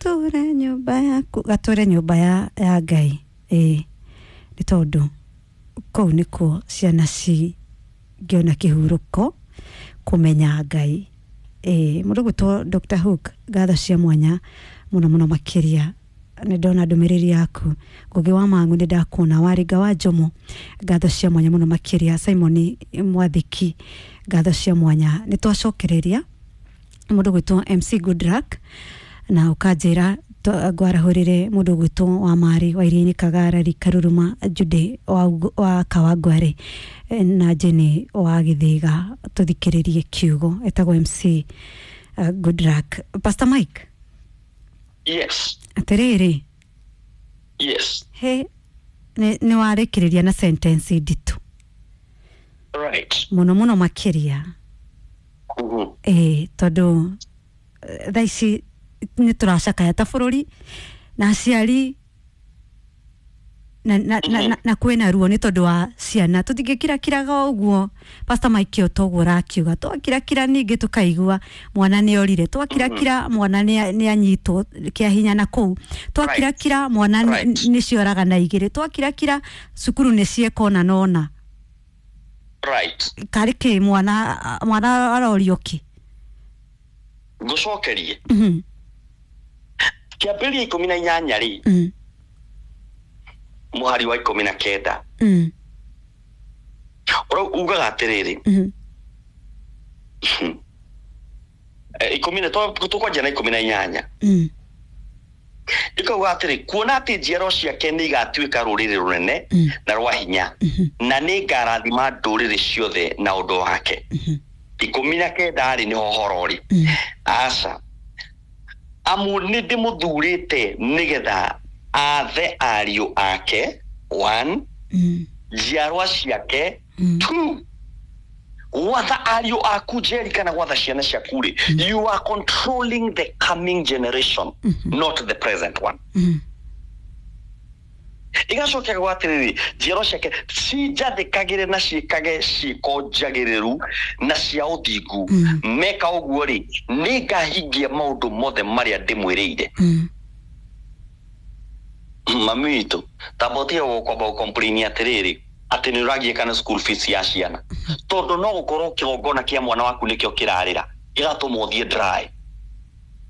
Gatũre nyũmba yaku, gatũre nyũmba ya Ngai. Ĩĩ, nĩ tondũ kũu nĩkuo ciana cingĩona kĩhurũko kũmenya Ngai. Ĩĩ, mũndũ gwĩtwo Dr. Hook, ngatho cia mwanya mũno mũno makĩria. Nĩ ndona ndũmĩrĩri yaku. Ngũgĩ wa Mang'u, nĩ ndakuona. Waringa wa Njomo, ngatho cia mwanya mũno makĩria. Simon Mwathiki, ngatho cia mwanya. Nĩ twacokereria mũndũ gwĩtwo MC Goodluck na ũkanjĩra ngwarahũrĩre mũndũ gwĩtwo wa Marĩ wa Iria-inĩ, Kagarari, Karuruma, Jude wa Kawangware na Jenny wa Gĩthĩga. Tũthikĩrĩrie kiugo etagwo MC Goodluck. Pastor Mike. Yes. Atĩrĩrĩ. Yes. He nĩ warĩkĩrĩria na sentence nditũ mũno mũno makĩria. Ĩĩ, tondũ thaa ici nĩ tũracakaya ta bũrũri na aciari na kwĩna ruo nĩ tondũ wa ciana. Tũtingĩkirakiraga ũguo, Pastor Mike, o toguo ũrakiuga, twakirakira ningĩ tũkaigua mwana nĩ orire, twakirakira mwana nĩ anyitwo kĩa hinya na kũu, twakirakira mwana nĩ cioragana igĩrĩ, twakirakira cukuru nĩ cieka ona nona. Karĩ kĩ mwana arorio kĩ? Ngũcokerie. Kĩambĩrĩria 18 rĩ, mũhari wa 19, ũrau ugaga atĩrĩrĩ, ikũmi na tũkwanjia na 18. Ikauga atĩrĩ, kuona atĩ njiaro ciake nĩ igatuĩka rũrĩrĩ rũnene na rwa hinya, na nĩ ngarathima ndũrĩrĩ ciothe na ũndũ wake. 19 rĩ, nĩho horo rĩ. Aca, amu nĩ ndĩmũthurĩte nĩgetha athe ariũ ake, one, njiarwa ciake, two. Gwatha ariũ aku, Njeri, kana gwatha ciana ciaku rĩ, you are controlling the coming generation, not the present one. Igacokia gwa atĩrĩrĩ, njiarwa ciake cinjathĩkagĩre na ciĩkage ciĩko njagĩrĩru na cia ũthingu. Meka ũguo rĩ, nĩ ngahingia maũndũ mothe marĩa ndĩmwĩrĩire. Mami witũ, tamba ũtige gũkwamba gũcomplain atĩrĩrĩ atĩ nĩ ũragiĩka na school fees ya ciana, tondũ no gũkorwo kĩgongona kĩa mwana waku nĩkĩo kĩrarĩra gĩgatũma ũthiĩ dry.